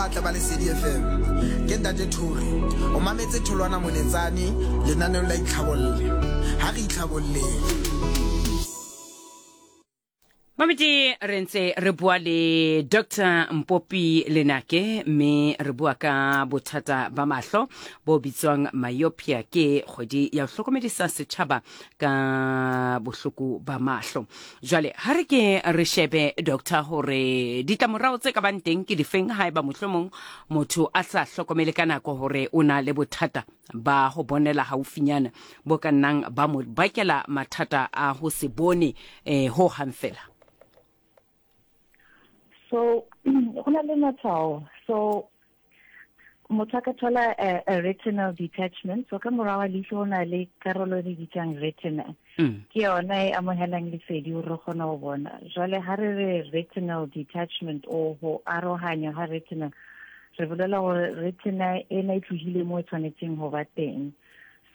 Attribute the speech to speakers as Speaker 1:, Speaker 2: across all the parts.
Speaker 1: batle ba Lesedi FM. Ke Ntate Thori. O mametse Tholwana Moletsane lenaneong la Itlhabolle. Ha re itlhabolleng.
Speaker 2: Mamedi re ntse re bua le Dr Mpopi Lenake mme re bua ka bothata ba mahlo bo bitswang myopia ke kgwedi ya ho hlokomedisa setjhaba ka bohloko ba mahlo. Jwale ha re ke re shebe doctor hore ditlamorao tse ka bang teng ke difeng haeba mohlomong motho a sa hlokomele ka nako hore o na le bothata ba ho bonela haufinyana bo ka nnang ba mo bakela mathata a ho se bone eh, ho hang fela.
Speaker 3: So go na le matshwao so motho a ka thola a, a retinal detachment so ka morago wa leihlo go na le karolo e re bitsang retina mm. ke yona e amogelang lesedi gore re kgone go bona jwale ga re re retinal detachment o go arohanya ga retina re bolela gore retina ena e tlogile mo e tshwanetseng go ba teng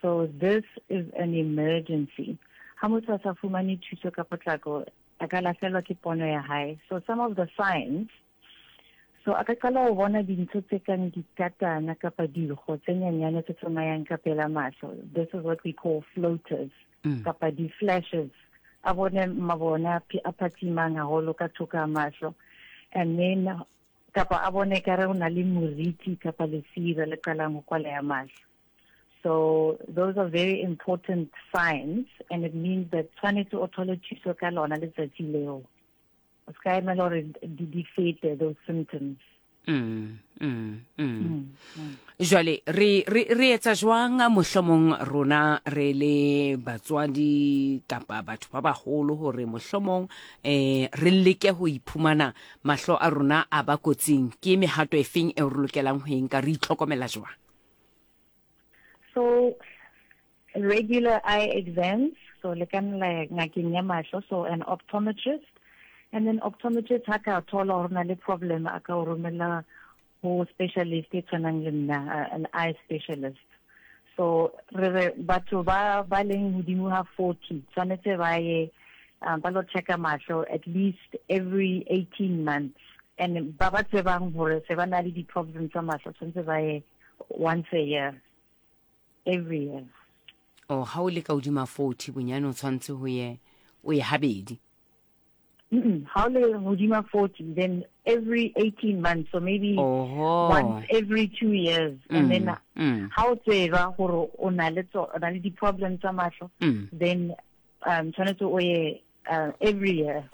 Speaker 3: so this is an emergency ha motho a sa fumane thuso ka potlako a ka lahlelwa ke pono ya hae so some of the signs so a ka qala go bona dintho tse kang dikatana kapa digo tse nyanyane tse tsamayang ka pela mahlo this is what we call floaters mm. kapa di-flashes a bone mabone a phatsimang haholo ka thoko a mahlo and then kapa a bone ka re o na le moriti kapa lesira le qalang go kwaleya mahlo so those are very important signs and it means that tshwanetse o thole thuso ka lona letsatsi leo o se ka emela gore di fete those symptoms
Speaker 2: Mm, mm, mm. mm, mm. Jwale re re re etsa jwang mohlomong rona re le batswadi kapa batho ba baholo hore mohlomong eh re leke ho iphumana mahlo a rona a ba kotsing ke mehato e feng e re lokelang ho e nka re itlhokomela jwang
Speaker 3: so regular eye exams so le ka nna ngakeng ya mahlo so an optometrist and then optometrist ha ka thola gore na le problem a ka o romela ho specialist e tshwanang le nna an eye specialist so re re batho ba ba leng hodimo ha 40 tshwanetse ba ye um, ba lo checka mahlo at least every 18 months and ba ba tsebang gore se ba na le di-problem tsa mahlo tshwanetse ba ye once a year every year
Speaker 2: oh ha o le ka hodima 40 bonyane o tshwanetse ho ye o ye habedi
Speaker 3: ha o le hodima 40 then every 18 months so maybe
Speaker 2: Oho.
Speaker 3: once every two years mm, and then mm. ha o tseba gore o na le o na le di-problem tsa mahlo mm. then um tshwanetse o ye uh, every year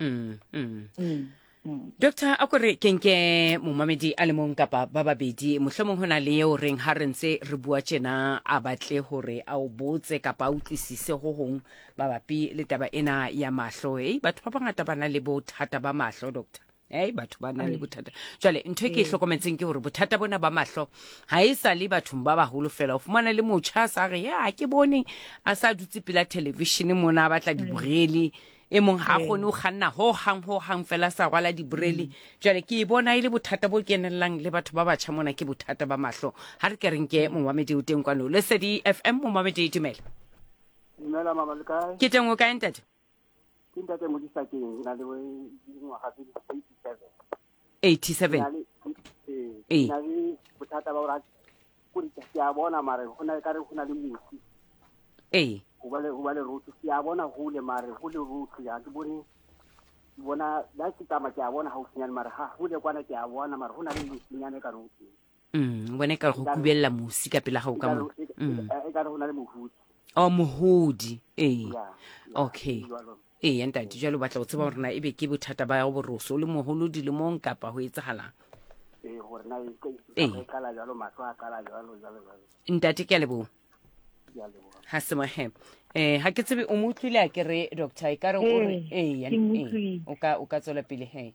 Speaker 2: mm, mm. Mm. mm. Doctor a kore ke nke momamedi a le mong kapa ba babedi mohlomong ho na le eo reng ha re ntse re bua tjena a batle hore a o botse kapa a utlwisise ho hong mabapi le taba ena ya mahlo ei batho ba bangata ba na le bothata ba mahlo doctor ei batho ba na le bothata jwale ntho e ke e hlokometseng ke gore bothata bona ba mahlo ga e sa le bathong ba bagolo fela o fumana le motšha a sa re ya ke bone a sa dutse pela television mona a batla diborele e mong ga a kgone go kganna ho hang ho hang fela sa rwala diborele jwale ke e bona e le bothata bo kenelelang le batho ba batjha mona ke bothata ba mahlo ga re ke reng ke momamedi o teng kwano lesedi fm momamedi dumela
Speaker 4: dumela mama le kae
Speaker 2: ke teng o kae ntate
Speaker 4: Ke ntate Modisakeng, ke na le dingwaga tse di 87.
Speaker 2: 87.
Speaker 4: Ee. Ke na le bothata ba gore ko ke a bona mare go na ka re go na le mosi.
Speaker 2: Ee.
Speaker 4: Go ba le go ba le rotho ke a bona hole mare go le rotho ya ke bone ke bona la ke tsamaya ke a bona haufinyane mare ha hole kwana ke a bona mare go na le mosinyane ka rotho.
Speaker 2: Mm, bone ka go kubelela mosi ka pela gago ka mo.
Speaker 4: Mm. E ka re go na le mohodi.
Speaker 2: Oh, mohodi. Ee. Okay. Ee, ntate, jwale o batla go tseba gore na ebe ke bothata ba go boroso o le moholo dilemong kapa go etsagalang.
Speaker 4: Ee, gore na e e qala jalo mahlo a qala jalo jalo jalo.
Speaker 2: Ntate ke a leboha. Ha se mohe. Eh, ha ke tsebe o mo utlwile a ke re doctor e ka re o re ee, o ka o ka tswela pele he.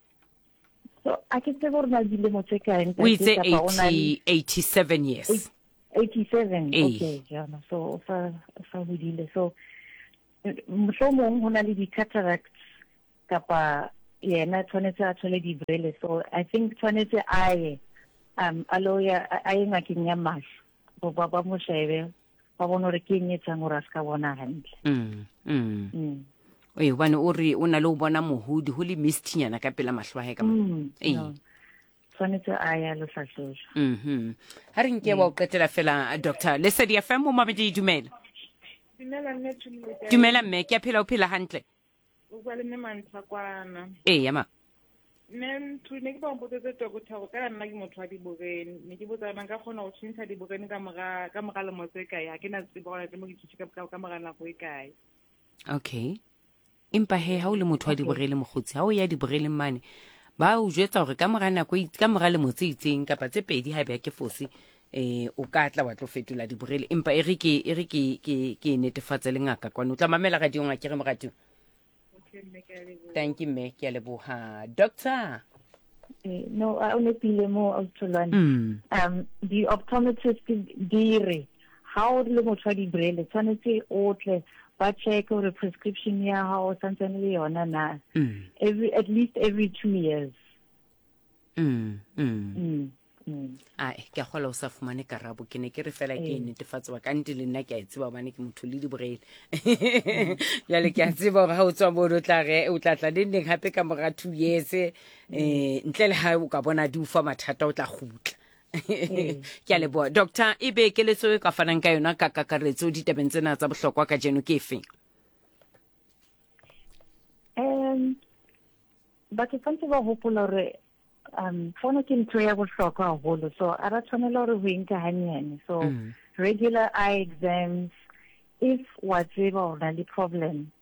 Speaker 3: So a ke tsebe gore na dilemo tse kae
Speaker 2: o itse 87 years
Speaker 3: 87 okay jana so o sa o sa hodile so mohlomong ho na le di-cataracts kapa yena tshwanetse a thole dibrele so i think tshwanetse a ye um a lo ya a ye ngakeng ya mahlo ba ba mo shebe ba bone gore ke eng e etsang gore a se ka bona hantle
Speaker 2: mm, mm. mm. ee gobane o re o na le o bona mohodi go le mistinyana ka pela mahlo a gae ka mo mm, ee.
Speaker 3: Tshwanetse a ya lo hlahlojwa.
Speaker 2: Ha re nke wa o qetela fela, Doctor. Lesedi FM, momamedi, dumela.
Speaker 5: Dumela mme Thulile kae?
Speaker 2: Dumela mme, ke a phela, o phela hantle?
Speaker 5: O bua le mme Mantsha kwana.
Speaker 2: Ee, ma.
Speaker 5: Mme Mthuli, ne ke ba mpotsetse doctor gore kana nna ke motho wa diborene. Ne ke botsa nka kgona go tšhentšha diborene ka mora ka mora lemo tse kae? Ha ke na tsebo gore tle mo ke tšhentšhe ka mora nako e kae.
Speaker 2: Okay. Empa he ha o le motho wa diborele mokgotsi, ha o ya diboreleng mane, ba o jwetsa gore ka mora nako e ka mora lemo tse itseng kapa tse pedi ha be ke fose, o ka tla wa tlo fetola diborele. Empa e re ke e re ke ke ke netefatse le ngaka kwano. O tla mamela radiong a ke re moratuwa.
Speaker 5: Okay, mme ke a leboha.
Speaker 2: Thank you mme, ke a leboha. Doctor.
Speaker 3: No, a o nepile mo Australian. Di-optometrist di re ha o le motho wa dibrele tshwanetse o tle ba check gore prescription ya hao santsane le yona na. Every at least every 2 years.
Speaker 2: Ae, ke a kgola o sa fumane karabo, ke ne ke re fela ke e netefatse wa ka nnete le nna ke a e tseba gobane ke motho le diborele. Jale ke a tseba gore ga o tswa mono o tla re o tla tla neng neng gape ka mora 2 years, ntle le ga o ka bona di o fa mathata o tla gutla. Ke a leboha doctor. E be keletso e ka fanang ka yona ka kakaretso ditabeng tsena tsa bohlokwa ka jeno ke efeng?
Speaker 3: Batho tshwanetse ba hopola gore fono ke ntho ya bohlokwa haholo, so a ra tshwanela gore ho e nka hanyane. So regular eye exams, if wa tseba o na le problem,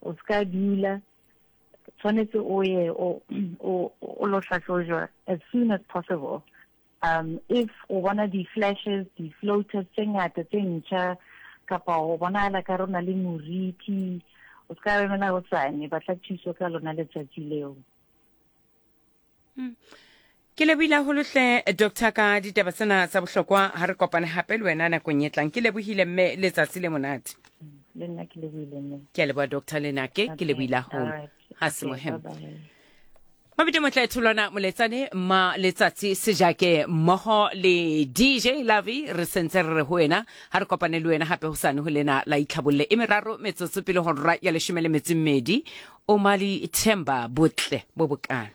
Speaker 3: o ska dula, tshwanetse o ye o o lo hlahlojwa as soon as possible. If o bona di-flashes, di-floaters tse ngata tse ntjha, kapa o bonahala ka rona le moriti, o ska emela hosane, batla thuso ka lona letsatsi leo.
Speaker 2: Ke lebohile haholo hle doctor ka ditaba tsena tsa bohlokwa. Ha re kopane hape le wena nakong e tlang. Ke lebohile mme, letsatsi le monate.
Speaker 3: Le nna ke lebohile mme.
Speaker 2: Ke a leboha doctor Lenake, ke lebohile haholo. Ha se mohem. Mabidi motle tholwana moletsane ma letsatsi sejake mmoho le DJ Lavi, re sentse re re ho wena ha re kopane le wena hape hosane ho lena la itlhabolle e meraro metsotso pele hora ya 12. Omali Themba, botle bo bokalo.